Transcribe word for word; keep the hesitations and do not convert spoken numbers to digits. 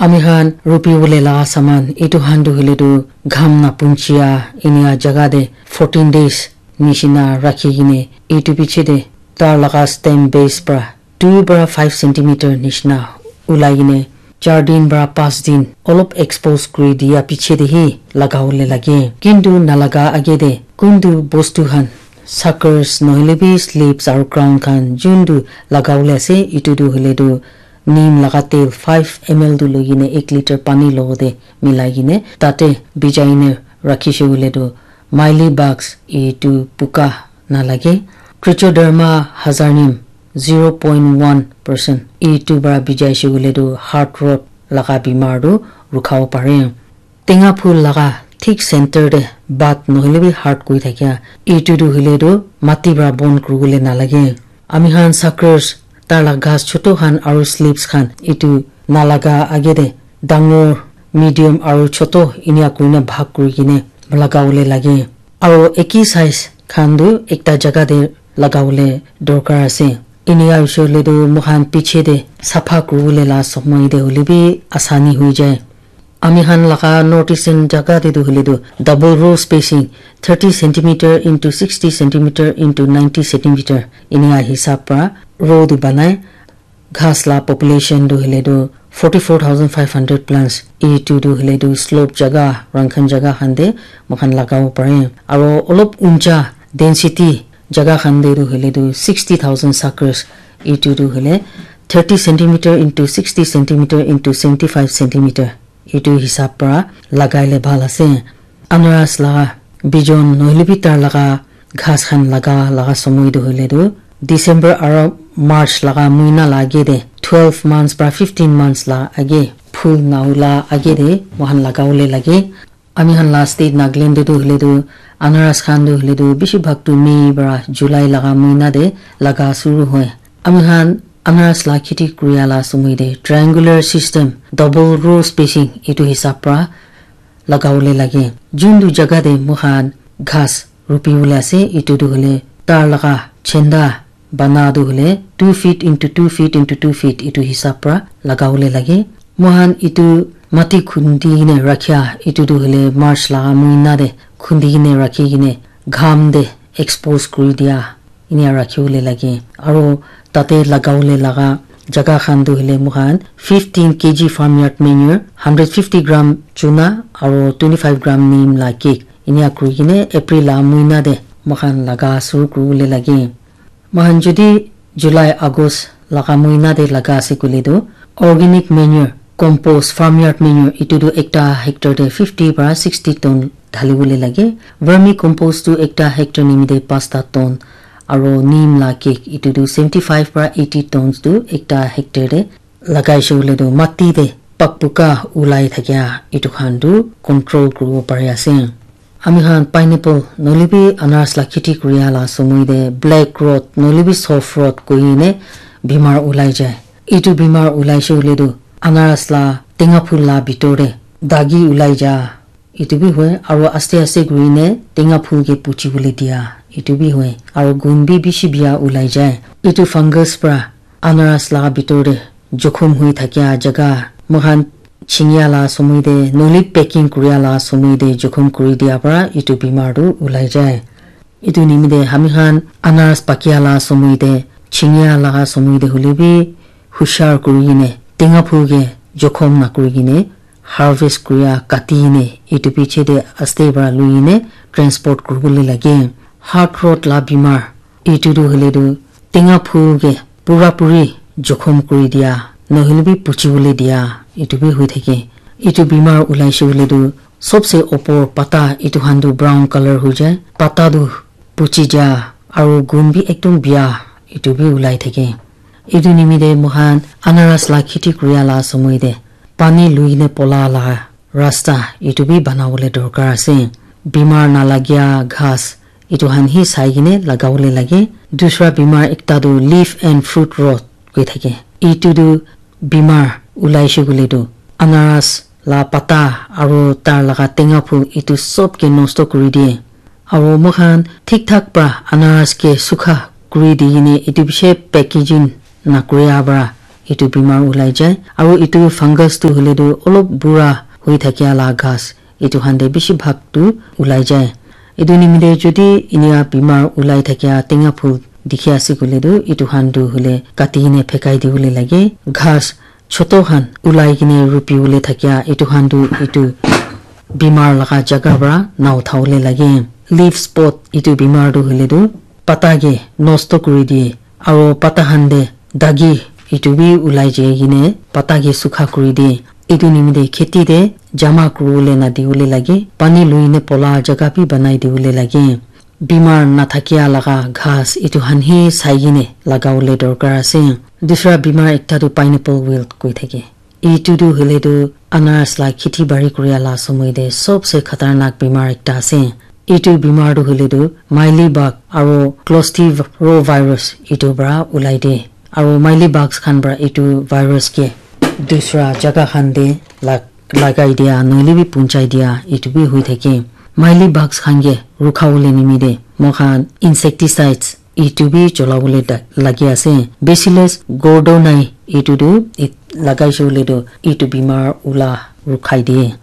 Ami khan rupi wole la saman etu khan tu hoile tu gham na punchia inia jaga te fourteen days nishina rakhi kine etu piche te tar laga stem base pra two pra five centimeter nishina ulai kine char din pra panch din olop expose kuri dia piche te hi laga wole lage. Kintu nalaga age te kuntu bostu khan suckers nohoile bi slips aru crown khan juntu laga wole ase etu tu hoile tu neem laga tel five M L tu loi kine ek liter pani logote milai kine tate bijai ne rakhishe hoile tu mealy bugs etu puka nalage. Trichoderma hazarnium zero point one percent etu para bijaishe hoile tu heart rot laga bimar tu rukhabo pare. Tenga phul laga thik center te bat nohoile bi heart koi thakia etu tu hoile tu mati para bon kuribole nalage. Ami khan suckers tar la ghas choto khan aru slips khan etu nalaga age te dangor, medium aru choto inia kurina bhag kuri kene lagawole lage. Aru eki size khan tu ekta jaga te lagawole dorkar ase. Inia hoishe hoile tu moikhan piche te sapha kuribole la somoi te hoile bi asani hoi jai. Ami khan laga North Eastern jaga te tu hoile tu double row spacing thirty centimeter into sixty centimeter into ninety centimeter inia hisab pra row tu banai. Ghas la population tu hoile tu forty four thousand five hundred plus. Etu tu hoile tu slope jaga, rankhan jaga khan te moikhan lagabo pare. Aro olop uncha density jaga khan te tu hoile tu sixty thousand suckers. Etu tu hoile thirty centimeter into sixty centimeter into seventy five centimeter. Etu hisab pra lagai le bhal ase. Anaras laga bijon nohoile bi tar laga ghas khan laga laga somoi tu hoile tu December aro March laga muina la age te twelve months pra fifteen months la age phul naula age te moikhan lagawole lage. Ami khan la state Nagaland te tu hoile tu anaras khan tu hoile tu bishi bhag tu May pra July laga muina te laga suru hoi. Ami khan anaras la kheti kuria la somoi te triangular system, double row spacing etu hisab pra lagawole lage. Juntu jaga te moikhan ghas rupi bole ase, etu tu hoile tar laga chenda bana tu hoile two feet into two feet into two feet etu hisab pra lagawole lage. Moikhan etu mati khundi kene rakhia, etu tu hoile March laga muina te khundi kene rakhi kene gham te expose kuri dia. Inia rakhibole lage. Aro tate lagawole laga jaga khan tu hoile moikhan fifteen K G farmyard manure, hundred fifty gram chuna aro twenty five gram neem la cake. Inia kuri kene April la muina te moikhan laga suru kuribole lage. Moikhan jodi July, August laga muina te laga ase koile tu organic manure, compost, farmyard manure etu tu ekta hectare te fifty para sixty ton dhalibole lage. Vermi compost tu ekta hectare nimite pasta ton aro neem la cake etu tu seventy five para eighty tons tu ekta hectare te lagaishe koile tu mati te pakpuka ulai thakia etu khan tu control kuribo pari ase. Ami khan pineapple nohoile bi anaras la kheti kuria la somoi te black rot nohoile bi soft rot koi kene bimar ulai jai. Etu bimar ulaishe koile tu anaras la tenga phul la bitor te dagi ulai ja etu bi hoi, aro aste aste kuri kene tenga phul ke puchi bole dia etu bi hoi, aro gun bi bishi bia ulai jai. Etu fungus pra anaras la bitor te jokhom hoi thakia jaga moikhan chinia la somoi te nohoile packing kuria la somoi te jokhom kuri dia para etu bimar tu ulai jai. Etu nimite ami khan anaras pakia la somoi te chinia laga somoi te hoile bi hushar kuri kene tenga phul ke jokhom na kuri kene harvest kuria kati kene etu piche te aste para lui kene transport kuribole lage. Heart rot la bimar etu tu hoile tu tenga phul ke pura puri jokhom kuri dia nohoile bi puchi bole dia etu bi hoi thake. Etu bimar ulaishe koile tu sobse opor pata etu khan tu brown colour hoi jai, pata tu puchi ja aro gun bi ekdum bia etu bi ulai thake. Etu nimite moikhan anaras la kheti kuria la somoi te pani lui kene pola la rasta etu bi banabole dorkar ase. Bimar nalagia ghas etu khan hi sai kene lagabole lage. Dusra bimar ekta tu leaf and fruit rot koi thake. Etu tu bimar ulaishe koile tu anaras la pata aro tar laga tenga phul etu sob ke nosto kuri diye. Aro moikhan thik thak pra anaras ke sukha kuri di kene etu bishi packaging na kuria pra etu bimar ulai jai. Aru etu fungus tu hoile tu olop bura hoi thakia la ghas, etu khan te bishi bhag tu ulai jai. Etu nimite jodi enia bimar ulai thakia tenga phul dikhi ase koile tu, etu khan tu hoile kati kene phekai dibole lage. Ghas choto khan ulai kene rupi bole thakia etu khan tu etu bimar laga jaga para na utha bole lage. Leaf spot etu bimar tu hoile tu pata ke nosto kuri diye, aro pata khan te dagi etu bi ulai jai kene pata ke sukha kuri diye. Etu nimite kheti te jama kuri bole na dibole lage, pani lui ne pola jaga bi banai dibole lage. Bimar na thakia laga ghas etu khan he sai kene laga bole dorkar ase. Dusra bimar ekta tu pineapple wilt koi thake. Etu tu hoile tu anaras la kheti bari kuria la somoi te sobse khatarnak bimar ekta ase. Etu bimar tu hoile tu mealybug aro clostridium virus etu para ulai de. Aro mealybugs khan para etu virus ke dusra jaga khan te lag-, lagai dia noile bi punchai dia etu bi hoi thake. Mealybugs khan ke rukha bole nimite moi khan insecticides etu bi chola bole da-, lagi ase. Bacillus gordonii etu tu it-, lagai se bole tu etu bimar ula rukhai de.